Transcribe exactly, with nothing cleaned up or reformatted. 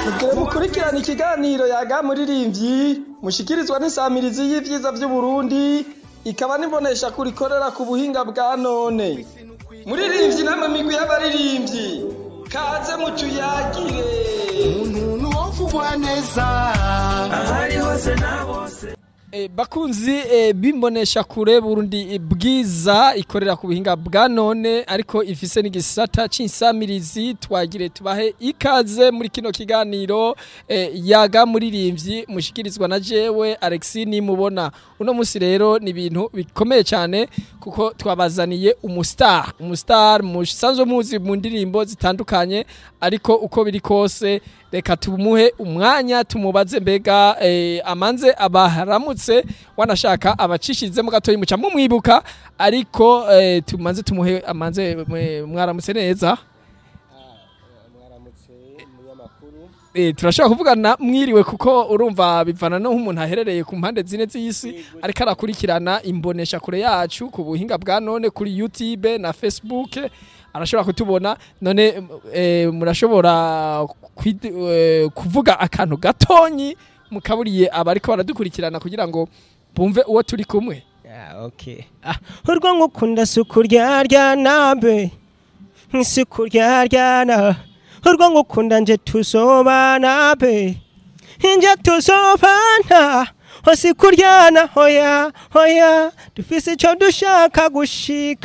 Mugire mukurikirana ikiganiro Yaga Muririmbyi mushikirizwa n'insamirizi y'ivyiza vy'Uburundi, ikaba n'imbonesha kuri ikorera ku buhinga bwa none. Muririmbyi namwe migwi y'abaririmbyi, kaze mutuyagire. Umuntu wovugwa neza ahari hose na bose. E, bakunzi e, bimbonesha kure Burundi Bwiza ikorera ku buhinga bwa none, ariko ifise n'igisata c'insamirizi, twagire tubahe ikaze muri kino kiganiro e, Yaga Muririmbyi mushikirizwa na jewe Alexis Nimubona. Uno musi rero ni ibintu bikomeye cyane kuko twabazaniye umustar, umustar musanzwe muzi mu ndirimbo zitandukanye, ariko uko biri kose reka tumuhe umwanya tumubaze mbega eh, amanze abaharamutse, wanashaka abacishizemo gatoyi muca mumwibuka, ariko eh, tumanze tumuhe amanze. Mwaramutse neza? Mwaramutse, munyamakuru. Eh, turashobora kuvugana mwiriwe kuko urumva bivana no nk'umuntu aherereye ku mpande zine z'isi ariko arakurikirana imbonesha kure yacu ku buhinga bwa none kuri YouTube na Facebook, arashobora kutubona. None eh, murashobora kwid- eh, kuvuga akantu gatonyi mukaburiye abariko baradukurikirana kugira ngo bumve uwo turi kumwe? Ah, okay. Ah, urwo ngukunda si ukuryarya nambe, si ukuryarya, urwo ngukunda nje tuzobana be, nje tuzobana, si kuryana, hoya hoya, dufise ico dushaka gushika.